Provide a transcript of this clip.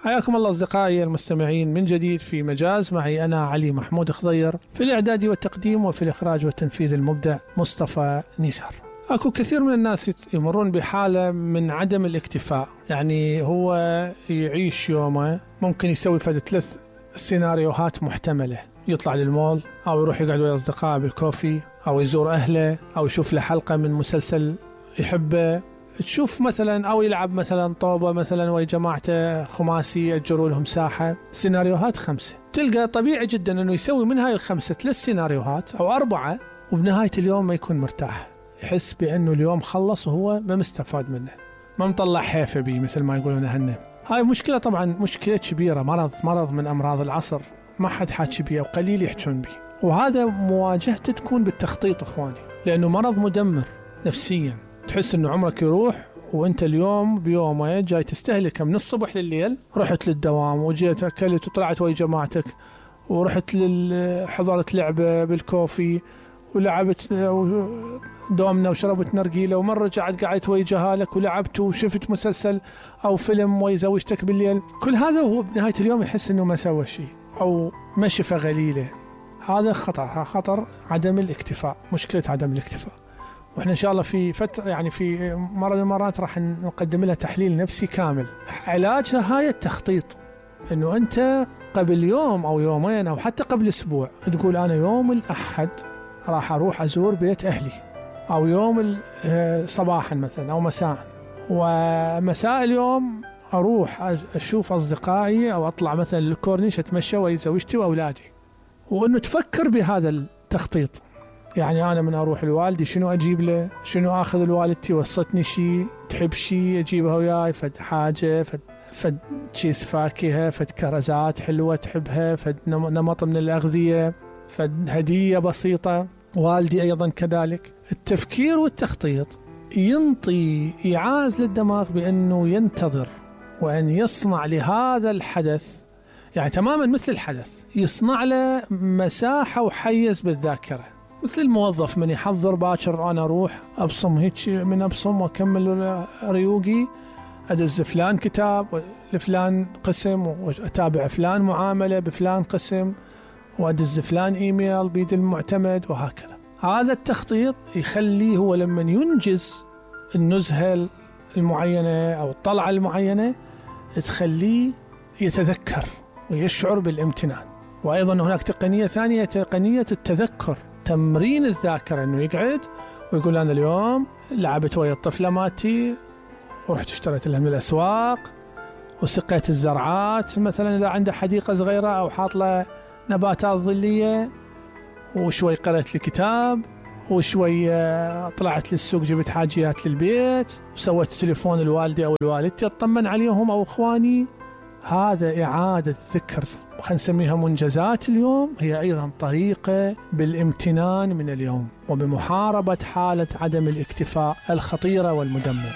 حياكم الله أصدقائي المستمعين من جديد في مجاز، معي أنا علي محمود خضير، في الإعداد والتقديم، وفي الإخراج والتنفيذ المبدع مصطفى نيسار. أكو كثير من الناس يمرون بحالة من عدم الاكتفاء، يعني هو يعيش يومه ممكن يسوي فد 3 سيناريوهات محتملة: يطلع للمول، أو يروح يقعد ويا أصدقائه بالكوفي، أو يزور أهله، أو يشوف له حلقة من مسلسل يحبه، تشوف مثلا، أو يلعب مثلا طوبة مثلا ويا جماعته خماسي يأجروا لهم ساحة. سيناريوهات 5، تلقى طبيعي جدا أنه يسوي من هاي ال5 3 سيناريوهات أو 4، وبنهاية اليوم ما يكون مرتاح، يحس بأنه اليوم خلص وهو ما مستفاد منه، ما مطلع حيفه بيه مثل ما يقولون هن. هاي مشكلة، طبعا مشكلة كبيرة، مرض من أمراض العصر، ما حد حاكي بيه وقليل يحجون بيه، وهذا مواجهته تكون بالتخطيط إخواني، لأنه مرض مدمر نفسيا. تحس أنه عمرك يروح وانت اليوم بيومه جاي تستهلكه من الصبح لليل. رحت للدوام وجيت أكلت وطلعت ويا جماعتك، ورحت حضرت لعبة بالكوفي ولعبت دومنا وشربت نرجيلة، ومرة رجعت قعدت ويا جهالك ولعبت وشفت مسلسل أو فيلم ويا زوجتك بالليل. كل هذا هو بنهاية اليوم يحس أنه ما سوى شيء أو ما شفى غليلة. هذا خطر عدم الاكتفاء، مشكلة عدم الاكتفاء. واحنا ان شاء الله في فتره، يعني في مره من المرات راح نقدم لها تحليل نفسي كامل. علاجها هاي التخطيط، انه انت قبل يوم او يومين او حتى قبل اسبوع تقول انا يوم الاحد راح اروح ازور بيت اهلي، او يوم صباحا مثلا او مساء، ومساء اليوم اروح اشوف اصدقائي او اطلع مثلا للكورنيش اتمشى ويا زوجتي واولادي. وانه تفكر بهذا التخطيط، يعني أنا من أروح لوالدي شنو أجيب له، شنو أخذ لوالدتي، وصتني شيء تحب شيء أجيبها وياي، فد حاجة، فد كيس فاكهة، فد كرزات حلوة تحبها، فد نمط من الأغذية، فد هدية بسيطة. والدي أيضا كذلك. التفكير والتخطيط ينطي إيعاز للدماغ بأنه ينتظر، وأن يصنع لهذا الحدث، يعني تماما مثل الحدث، يصنع له مساحة وحيز بالذاكرة. مثل الموظف من يحضر باكر، أنا أروح أبصم هيك من أبصم وأكمل ريوقي، أدز فلان كتاب لفلان قسم، وأتابع فلان معاملة بفلان قسم، وأدز فلان إيميل بيد المعتمد، وهكذا. هذا التخطيط يخليه هو لما ينجز النزهة المعينة أو الطلعة المعينة تخليه يتذكر ويشعر بالامتنان. وأيضا هناك تقنية ثانية، تقنية التذكر، تمرين الذاكرة، أنه يقعد ويقول أنا اليوم لعبت ويا الطفلة ماتي، ورحت اشتريت لها من الأسواق، وسقيت الزرعات مثلا إذا عنده حديقة صغيرة أو حاط له نباتات ظلية، وشوي قرأت لي كتاب، وشوي طلعت للسوق جبت حاجيات للبيت، وسويت تليفون الوالدي أو الوالدتي أطمن عليهم أو إخواني. هذا إعادة ذكر، خلينا نسميها منجزات اليوم، هي أيضا طريقة بالامتنان من اليوم وبمحاربة حالة عدم الاكتفاء الخطيرة والمدمرة.